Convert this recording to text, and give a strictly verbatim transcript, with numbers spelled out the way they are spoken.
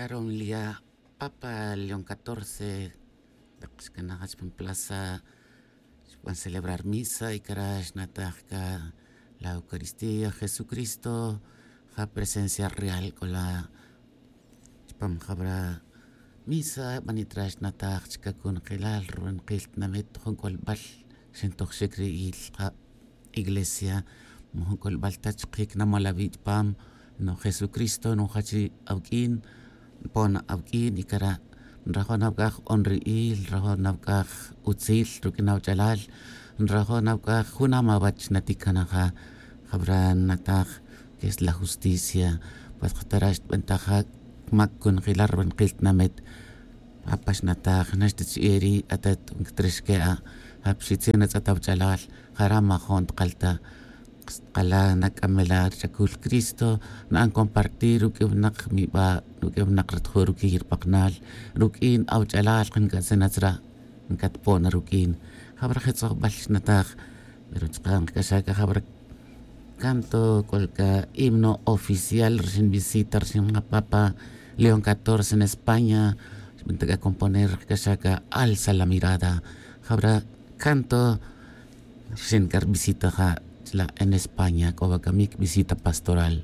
Ronlia papa león catorce, tak xkanaj chpan plaza xban celebrar misa y cara xnataj ca la eucaristía jesucristo. Ja presencia real c'o la chpam jabra misa banitra xnataj chica cunjelal rubanqil tinamit jun c'olbal xintoj xic ri il jab iglesia. Mojun c'olbal ta chkic namol awi' chpam no jesucristo nojach ri awq'uin npon awq'uin y cara' nrajo' nawc'aj honri'il nrajo' nawc'aj utzil ruq'uin awch'alal. Nrajo' nawc'aj junam awach naticanaja jabra nataj que es la justicia. Pues jatara' xtbentaja mac cunjelal rubanqil tinamit. Apa xnataj naxta chi'e ri' atat nc'atrix que'a' ja pixitzin atz'at awach'alal. Jara' majo'n tkalta' xtkala' nac'amela' rich'acul cristo. Na'an compartir ruq'ui winak miba' ruq'ui winak ratju' ruquiy ripaknal ruq'uin awach'alal nc'atzin atzra'. Ncatpon ruq'uin jabra je' tz'ojbal xnataj. Pero chka' nkac'axaj c'a jabra canto c'ol c'a himno oficial rixin visita rixin ja papa león catorce en españa. Xbenta c'a componer c'a xa c'a alza la mirada. Jabra canto rixin c'a rvisita ja chla' en españa c'o wa camic visita pastoral.